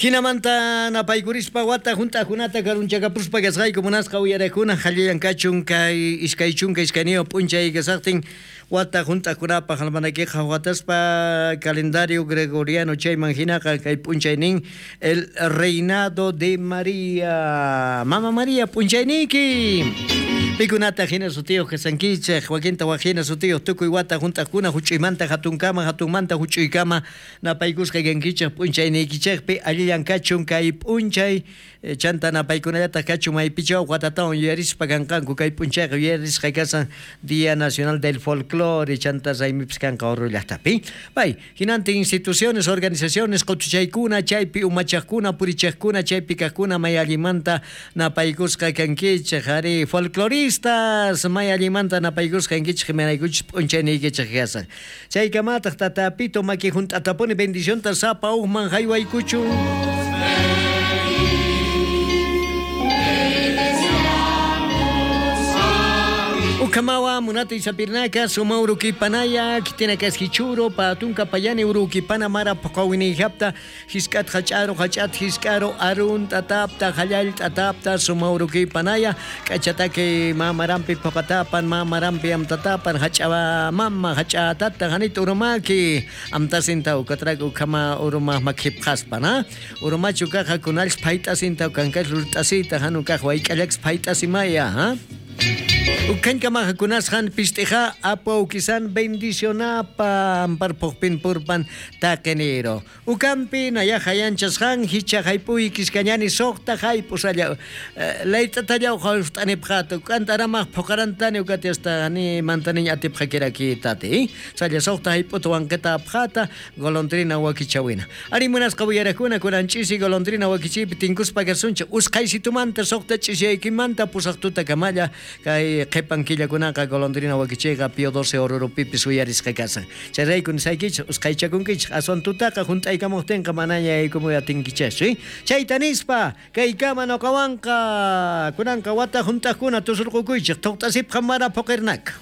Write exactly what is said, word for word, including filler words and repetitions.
Hinamanta napaykurispa wata hunt'aqkunata karunchakapuspa kasqayku munasqa uyaraqkuna hallillan kachun kay iskay chunka iskayniyuq p'unchay kasaqtin wata hunt'aqkunapaq almanakiqa wataspa calendario gregoriano chayman hinaqa kay p'unchaynin el reinado de María. Mama María p'unchayniyki. Pikunata hina sutiyuq kasankichej wakinta waj hina sutiyuq tukuy wata hunt'aqkuna huch'uymanta hatunkama hatunmanta huch'uykama napaykusqa kankichej p'unchayniykichejpi allillan kachun kay p'unchay chanta napaykunallataq kachun maypichaw watatawan yuyarispa kanqanku kay p'unchayqa yuyarisqa kasan Día Nacional del Folclore chanta raymipis kanqa Oruro llaqtapi. Pay hinantin instituciones organizaciones qutuchaykuna chaypi umachaqkuna purichaqkuna chaypi kaqkuna may allimanta napaykusqa kankichej ari folcloristas may allimanta napaykusqa kankichej imaraykuchis p'unchayniykichej kasan. Chaykamataq tatapito maki hunt'atapuni bendicionta sapa uqman haywaykuchun. Ukamawa munati sapirnaka suma urukipanaya kitinaka hichuro patunka payani urukipana mara pqawini hapta hiskat hach'aro hach'at hisk'aro arun tatapta hallal tatapta suma urukipanaya k'achataki mamarampi puqatapan mamarampi amtatapan hach'awa mama hach'atata hanit urumaki amtasinta ukatrak ukama uruma makhipqaspa urumachu kaqa kunalx phayt'asinta ukankax rurt'asita hanu kaq wayk'allakx phayt'asimaya ha. Ukanka kunashan pistija apo ukisan bendicionapa amparpojpin purpan taqenero. Ukampi nayaja yanchashan hicha haypuy kiskañani soqta haypusalla laytatallaw hawstanipqata ukantaramaj puqarantani ukati hasta ni mantaniñ atipqakiraki tati. Salla soqta hayputa wanqita apqata golondrina wakichawina. Ari munasqa uyarakuna kuranchisi golondrina wakichipi tinkuspa kasuncha usqaysitumanta soqta ch'isiyaykimanta pusaqtuta kamalla kay qhipan killakunaqa golondrina wakichiyqa Pío doce Orurupipis uyarisqa kasan. Chayrayku nisaykichej usqhaychakunkichej aswan tutaqa hunt'aykamuqtinqa manaña yaykumuy atinkichejchu. Chayta nispa kaykama nuqawanqa kunanqa wata hunt'aqkuna tusurqukuychej thuqt'asipqa mara puqirnaka.